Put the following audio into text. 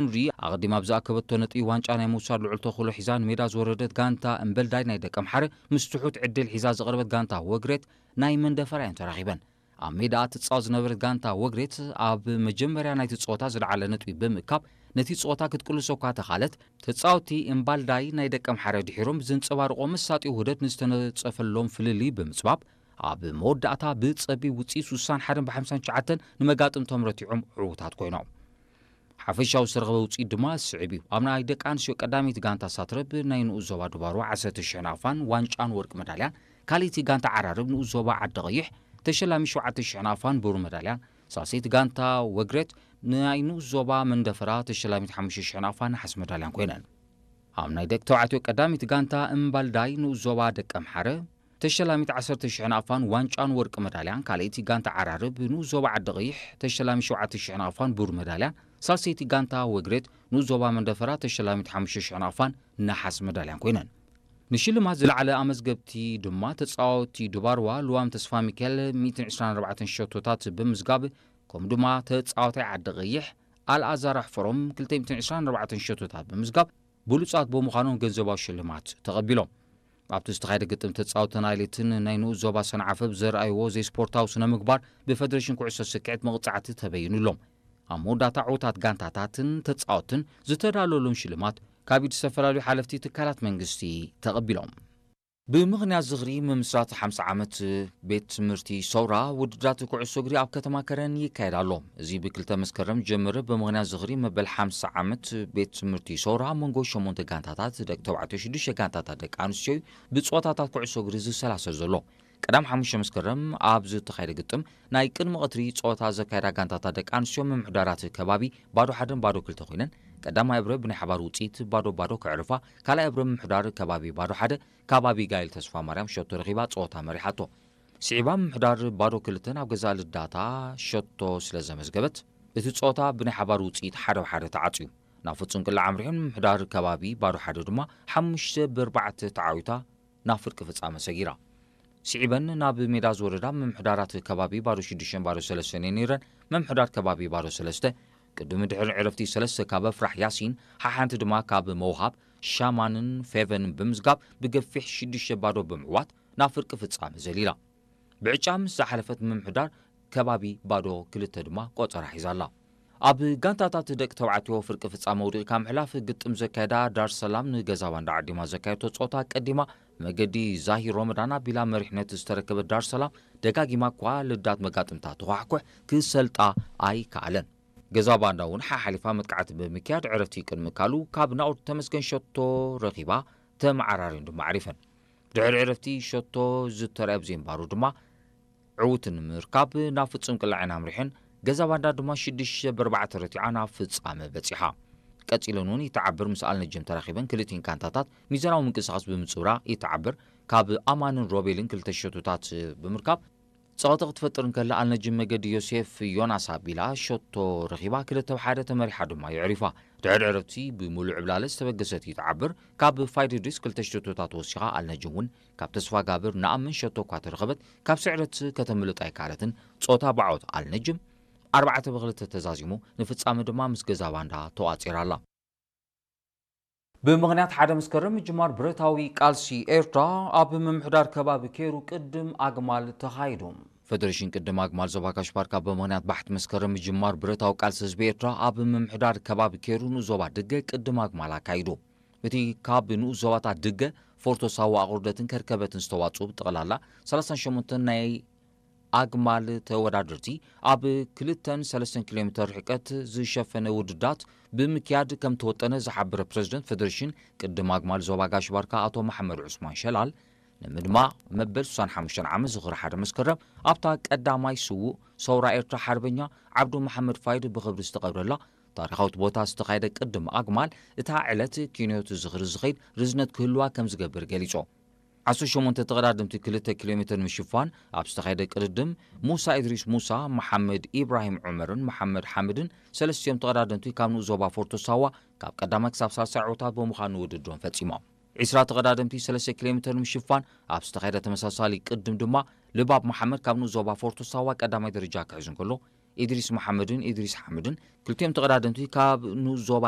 ኑሪ ኣቐዲማ ብዝኣከበቶ ነጥቢ ዋንጫ ናይ ምውሳድ ልዑል ተኽእሎ ሒዛ ንሜዳ ዝወረደት ጋንታ እምበልዳይ ናይ ደቀምሓረ ምስ ትሑት ዕድል ሒዛ ዝቐረበት ጋንታ ወግሬት ናይ መንደፈራ እየን ተራኺበን። ኣብ ሜዳ ትጻወት ዝነበረት ጋንታ ወግሬት ኣብ መጀመርያ ናይቲ ጸወታ ዝለዓለ ነጥቢ ብምእካብ ነቲ ጸወታ ክትቅልሶ እኳ ተኻለት፣ ተጻወቲ እምባልዳይ ናይ ደቀምሓረ ድሒሮም ብዘንጸባርቖ መሳጢ ውህደት ንዝተነጸፈሎም ፍልልይ ብምጽባብ ኣብ መወዳእታ ብጸቢብ ውጽኢት ስሳን ሓደን ብሓምሳን ትሽዓተን ንመጋጥምቶም ረቲዖም ዕዉታት ኮይኖም። ሓፈሻዊ ዝተረኸበ ውጽኢት ድማ ስዕብ እዩ። ኣብ ናይ ደቂ ኣንስትዮ ቀዳመይቲ ጋንታ ሳትረብ ናይ ንኡስ ዞባ ድባርዋ ዓሰርተ ሽሕ ናቕፋን ዋንጫን ወርቂ መዳልያን፣ ካልኣይቲ ጋንታ ዓራርብ ንኡስ ዞባ ዓዲ ቀይሕ ተሸላሚ ሸውዓተ ሽሕ ናቕፋን ብሩር መዳልያን፣ ሳልሰይቲ ጋንታ ወግሬት ናይ ንኡስ ዞባ መንደፈራ ተሸላሚት ሓሙሽተ ሽሕ ናቕፋን ነሓስ መዳልያን ኮይነን። ኣብ ናይ ደቂ ተባዕትዮ ቀዳሚት ጋንታ እምባልዳይ ንኡስ ዞባ ደቀምሓረ ተሸላሚት ዓሰርተ ሽሕ ናቕፋን ዋንጫን ወርቂ መዳልያን፣ ካልኣይቲ ጋንታ ዓራርብ ንኡስ ዞባ ዓዲ ቀይሕ ተሸላሚ ሸውዓተ ሽሕ ናቕፋን ብሩር መዳልያን፣ ሳልሰይቲ ጋንታ ወግሬት ንኡስ ዞባ መንደፈራ ተሸላሚት ሓሙሽተ ሽሕ ናቕፋን ነሓስ መዳልያን ኮይነን። ንሽልማት ዝለዓለ ኣመዝገብቲ ድማ ተጻወቲ ድባርዋ ልዋም ተስፋ ሚካኤል ሚእትን ዕስራን ኣርባዕተን ሸቶታት ብምዝጋብ፣ ከምኡ ድማ ተጻዋታይ ዓዲ ቀይሕ ኣልኣዛር ኣሕፈሮም ክልተ ሚእትን ዕስራን ኣርባዕተን ሸቶታት ብምዝጋብ ብሉጻት ብምዃኖም ገንዘባዊ ሽልማት ተቐቢሎም። ኣብቲ ዝተኻየደ ግጥም ተጻወቲ ናይሌትን ናይ ንኡስ ዞባ ሰንዓፈ ብዘርኣይዎ ዘይስፖርታዊ ስነ ምግባር ብፈደሬሽን ኩዕሶ ስክዕት መቕጻዕቲ ተበይኑሎም። ኣብ መወዳእታ ዕዉታት ጋንታታትን ተጻወትን ዝተዳለወሎም ሽልማት ካብ ኢድ ዝተፈላለዩ ሓለፍቲ ትካላት መንግስቲ ተቐቢሎም። ብምኽንያት ዝኽሪ ምምስራት ሓምሳ ዓመት ቤት ትምህርቲ ሰውራ ውድድራት ኩዕሶ እግሪ ኣብ ከተማ ከረን ይካየድ ኣሎ። እዚ ብክልተ መስከረም ጀምር ብምኽንያት ዝኽሪ መበል ሓምሳ ዓመት ቤት ትምህርቲ ሰውራ ኣብ መንጎ ሸሞንተ ጋንታታት ደቂ ተባዕትዮ ሽዱሽተ ጋንታታት ደቂ ኣንስትዮ እዩ ብፀወታታት ኩዕሶ እግሪ ዝሰላሰል ዘሎ። ቀዳም ሓሙሽተ መስከረም ኣብ ዝተኻየደ ግጥም ናይ ቅድሚ ቀትሪ ፀወታ ዘካየዳ ጋንታታት ደቂ ኣንስትዮ ምምሕዳራት ከባቢ ባዶ ሓደን ባዶ ክልተ ኮይነን ቀዳማይ እብረ ብናይ ሓባር ውፅኢት ባዶ ባዶ ከዕርፋ ካልኣይ እብረ ምምሕዳር ከባቢ ባዶ ሓደ ካብ ኣቢጋይል ተስፋ ማርያም ሸቶ ረኺባ ፀወታ መሪሓቶ። ስዒባ ምምሕዳር ባዶ ክልተ ናብ ገዛእ ልዳታ ሸቶ ስለ ዘመዝገበት እቲ ፀወታ ብናይ ሓባር ውፅኢት ሓደ ብሓደ ተዓፅዩ። ናብ ፍፁም ቅላዕ ኣምሪሑ ንምምሕዳር ከባቢ ባዶ ሓደ ድማ ሓሙሽተ ብኣርባዕተ ተዓዊታ ናብ ፍርቂ ፍፃመ ሰጊራ። ስዒበን ናብ ሜዳ ዝወረዳ ምምሕዳራት ከባቢ ባዶ ሽዱሽተን ባዶ ሰለስተን እየን ነይረን። ምምሕዳር ከባቢ ባዶ ሰለስተ ቅድሚ ድሕሪ ዕረፍቲ ሰለስተ ካብ ኣፍራሕ ያሲን ሓሓንቲ ድማ ካብ መውሃብ ሻማንን ፌቨንን ብምዝጋብ ብገፊሕ ሽዱሽተ ባዶ ብምዕዋት ናብ ፍርቂ ፍጻመ ዘሊላ። ብዕጫ ምስ ዝሓለፈት ምምሕዳር ከባቢ ባዶ ክልተ ድማ ቆጸራ ሒዛ ኣላ። ኣብ ጋንታታት ደቂ ተባዕትዮ ፍርቂ ፍጻመ ውድቂ ካብ ምሕላፍ ግጥም ዘካየዳ ዳር ሰላም ንገዛ ባንዳ ዓዲማ ዘካየድቶ ጸወታ ቀዲማ መገዲ ዛሂር ሮመዳን ኣቢላ መሪሕነት ዝተረከበት ዳር ሰላም ደጋጊማ እኳ ልዳት መጋጥምታ ተኳሕኩሕ ክሰልጣ ኣይከኣለን። ገዛ ባንዳ እውን ሓሓሊፋ መጥቃዕቲ ብምክያድ ዕረፍቲ ቅድሚ ካሉ ካብ ናኦድ ተመስገን ሸቶ ረኺባ ተመዓራርዮን ድማ ዓሪፈን። ድሕሪ ዕረፍቲ ሸቶ ዝተረኣየ ብዘይምባሩ ድማ ዕውት ንምርካብ ናብ ፍጹም ቅላዕን ኣምሪሐን። ገዛ ባንዳ ድማ ሽዱሽተ ብኣርባዕተ ረቲዓ ናብ ፍጻመ በጺሓ። ቀጺለን እውን ይተዓብር ምስ ኣልነጅም ተራኺበን ክልቲን ካንታታት ሚዛናዊ ምንቅስቓስ ብምጽውራ ይተዓብር ካብ ኣማንን ሮቤልን ክልተ ሸቶታት ብምርካብ ጸቕጢ ክትፈጥር እንከላ ኣልነጅም መገዲ ዮሴፍ ዮናስ ኣቢላ ሸቶ ረኺባ ክልተ ብሓደ ተመሪሓ ድማ የዕሪፋ። ድሕሪ ዕረፍቲ ብምሉእ ዕብላለ ዝተበገሰት ይተዓብር ካብ ፋይድ ድሪስ ክልተ ሸቶታት ወሲኻ ኣልነጅም እውን ካብ ተስፋ ጋብር ንኣምን ሸቶ እኳ ተረኸበት ካብ ስዕረት ከተምልጥ ኣይከኣለትን። ጾታ ብዓወት ኣልነጅም ኣርባዕተ ብክልተ ተዛዚሙ ንፍጻመ ድማ ምስ ገዛ ባንዳ ተቋጺራ ኣላ። ብምኽንያት ሓደ መስከረም ምጅማር ብረታዊ ቃልሲ ኤርትራ ኣብ ምምሕዳር ከባቢ ኬሩ ቅድም ኣግማል ተኻይዱ። ፈደሬሽን ቅድም ኣግማል ዞባ ጋሽ ባርካ ብምኽንያት ባሕቲ መስከረም ምጅማር ብረታዊ ቃልሲ ህዝቢ ኤርትራ ኣብ ምምሕዳር ከባቢ ኬሩ ንኡስ ዞባ ድገ ቅድም ኣግማል ኣካይዱ። እቲ ካብ ንኡስ ዞባታት ድገ፣ ፎርቶ ሳዋ ኣቑርደትን ከርከበትን ዝተዋጽኡ ብጠቕላላ ሰላሳን ሸሞንተን ናይ ኣግማል ተወዳደርቲ ኣብ ክልተን ሰለስተን ኪሎ ሜተር ርሕቀት ዝሸፈነ ውድዳት ብምክያድ ከም ተወጠነ ዝሓበረ ፕረዚደንት ፈደሬሽን ቅድም ኣግማል ዞባ ጋሽ ባርካ ኣቶ መሓመድ ዑስማን ሸላል፣ ንምድማቕ መበል ስሳን ሓሙሽተን ዓመት ዝኽሪ ሓደ መስከረም ኣብታ ቀዳማይ ስዉእ ሰውራ ኤርትራ ሓርበኛ ዓብዱ መሓመድ ፋይድ ብኽብሪ ዝተቐብረላ ታሪኻዊት ቦታ ዝተኻየደ ቅድም ኣግማል እታ ዕለት ኪንዮት ዝኽሪ ዝኸይድ ርዝነት ክህልዋ ከም ዝገብር ገሊጹ። ዓሰርተ ሸሞንተ ተቐዳደምቲ ክልተ ኪሎ ሜተር ንምሽፋን ኣብ ዝተኻየደ ቅድድም፣ ሙሳ ኢድሪስ ሙሳ፣ መሓመድ ኢብራሂም ዑመርን መሓመድ ሓምድን ሰለስቲኦም ተቐዳደምቲ ካብ ንኡስ ዞባ ፎርቶ ሳዋ ካብ ቀዳማይ ክሳብ ሳልሳይ ዕዉታት ብምዃን ንውድድሮም ፈጺሞም። ዒስራ ተቐዳደምቲ ሰለስተ ኪሎ ሜተር ንምሽፋን ኣብ ዝተኻየደ ተመሳሳሊ ቅድም ድማ፣ ልባብ መሓመድ ካብ ንኡስ ዞባ ፎርቶ ሳዋ ቀዳማይ ደረጃ ክሕዝ እንከሎ፣ ኢድሪስ መሓመድን ኢድሪስ ሓምድን ክልቲኦም ተቐዳደምቲ ካብ ንኡስ ዞባ